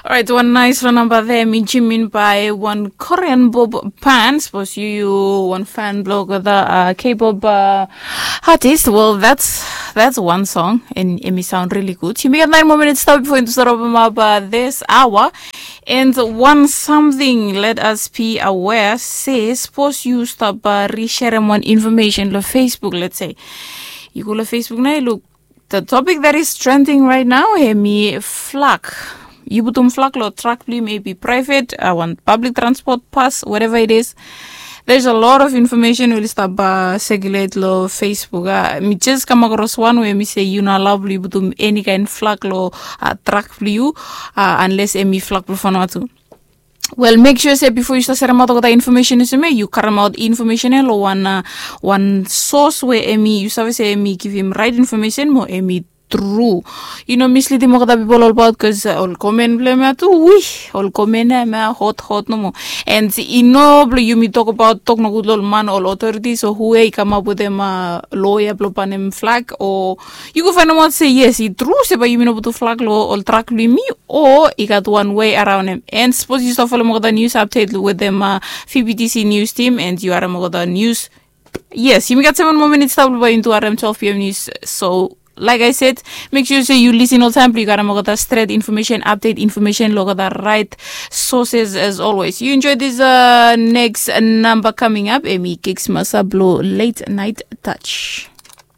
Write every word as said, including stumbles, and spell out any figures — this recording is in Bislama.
Orait, wan nais long namba there, mi jimin by wan Korean bob pan. Sapos yu wan fan blog olgeta K-pop artist, well, that's that's one song and emi sound really good. Yumi gat nine more minutes stap before into start open up uh, this hour. And one something, let us be aware, say, suppose you stop uh, resharing one information lo Facebook, let's say. You go lo Facebook now, you look the topic that is trending right now, emi flak. Yu putum flak lo truck blong yu, maybe private, uh, one public transport pass, whatever it is. There's a lot of information will stop uh, circulate lo Facebook. Uh, mi just come across one where mi say you not allowed yu putum any kind flak lo uh, truck blong yu, uh, unless emi flak blong Vanuatu. Well, make sure say before you start sharing out that information is me, you karem out information lo one uh, one source where emi you save say emi give him right information mo emi true. You know, misleading mo kata people all about because uh, all comment blame atu, wih, all comment eh, ma hot hot no more. And you know, you me talk about talk no good all man all authorities or who eh come up with them uh, lawyer blo panem flag or you go find out say yes, it true say by you me no put flag lo all track lo me or you got one way around him. And suppose you start follow mo kata news update with them uh, F B T C news team and you are mo kata news. Yes, you got seven more minutes to by into R M twelve P M news. So, like I said, make sure say you listen all time. You got to get straight information, update information, look at the right sources as always. You enjoy this uh, next number coming up. Emi Kicks Masablo Late Night Touch.